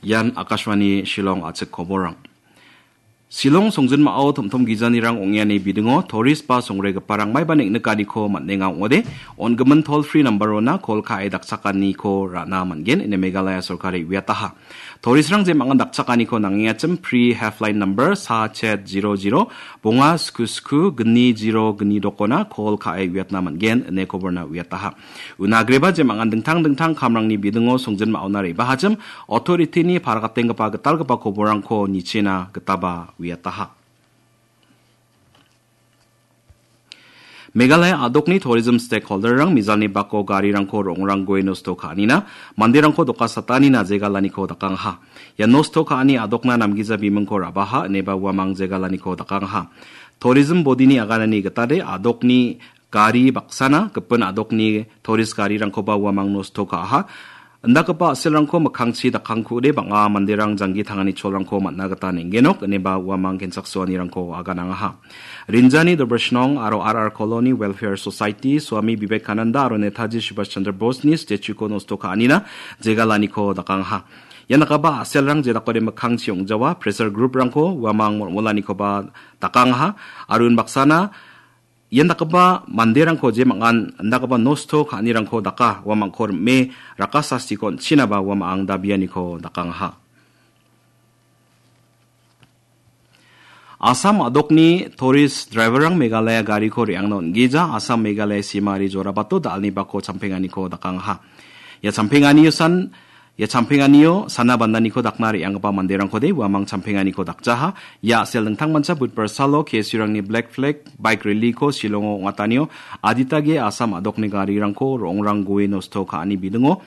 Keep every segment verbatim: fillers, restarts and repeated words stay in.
Ian Akashvani Shillong a·chik koborrang. Shillong songjinmao tom-tom gijanirang ong·e ani bidingo tourist ba songregiparang maiba neng·nikaniko man·enga ong·ode, on·gimin toll free number-ona call ka·e dakchakaniko ra·na man·gen ine Meghalaya sorkari uiataha. Touristrang jemangan dakchakaniko nangengachim free helpline number sa chet zero zero bonga sku sku gni zero gni dokona call ka·e uiatna man·gen ine koborna uiataha. Una agreba jemangan dingtang dingtang kamrangni bidingo songjinmaona re·bahachim authority-ni paragatenggipa gitalgipa koborrangko nichena gitaba uiataha. Meghalaya a·dokni tourism stakeholder-rang mijalni bako garirangko ro·ongrang gue nosto ka·anina, manderangko doka satanina jegalaniko dakangaha. Ia nosto ka·ani a·dokna namgija bimingko ra·baha ineba uamang jegalaniko dakangaha. Tourism body-ni aganani gitade a·dokni gari baksana gipin a·dokni tourist garirangkoba uamang nosto ka·aha. Indakgipa a·selrangko mikkangchi dakangkude bang·a manderang janggi tangani cholrangko man·na gita neng·genok ineba uamang kensaksoanirangko aganangaha. Rinjani Dobrishnong aro R R Colony Welfare Society, Swami Vivekananda aro Netaji Subhash Chandra Bose-ni statue-ko nosto ka·anina jegalaniko dakangaha. Ian dakgipa a·selrang jedakode mikkangchi ong·jawa pressure group-rangko uamang molmolanikoba dakangaha. Aro unbaksana ian dakgipa manderangko jemangan indakgipa nosto ka·anirangko daka uamangko rim·e rakasastiko on·chinaba uamang dabianiko dakangaha. Assam a·dokni tourist driver-rang Meghalaya gariko re·angna on·gija Assam Meghalaya simari jorabato da·alni bako champenganiko dakangaha. Ia champenganio san, ia champenganio sana bandaniko dakna re·anggipa manderangkode uamang champenganiko dakjaha. Ia a·sel dingtangmancha Budbar salo K S U-rangni Black Flag bike rally-ko Shillongo ong·atanio aditage Assam a·dokni garirangko ro·ongrang gue nosto ka·ani bidingo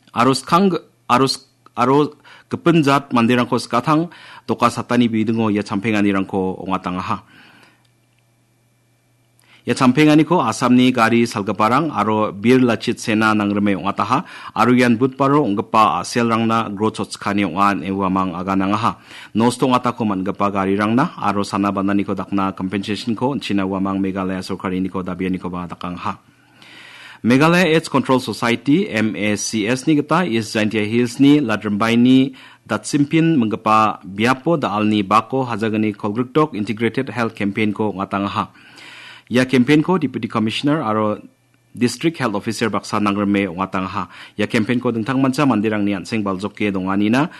aro skang aro sk-, aro gipin jat manderangko skatang doka satani bidingo ia champenganirangko ong·atangaha. Ia champenganiko Assamni gari salgiparang aro Bir Lachit Sena nangrime ong·ataha, aro ian Budbaro ong·gipa a·selrangna gro chotskani ong·a ine uamang aganangaha. Nosto ong·atako man·gipa garirangna aro sana bandaniko dakna compensation-ko on·china uamang Meghalaya sorkariniko dabianikoba dakangaha. Meghalaya AIDS Control Society, M A C S-ni gita East Jaintia Hills-ni Ladrimbaini Datsimpin minggipa biapo da·alni bako hajagni kolgrikdok Integrated Health Campaign-ko ong·atangaha. Ia campaign-ko Deputy Commissioner aro District Health Officer baksa nangrime ong·atangaha. Ia campaign-ko dingtangmancha manderangni an·seng baljoke donganina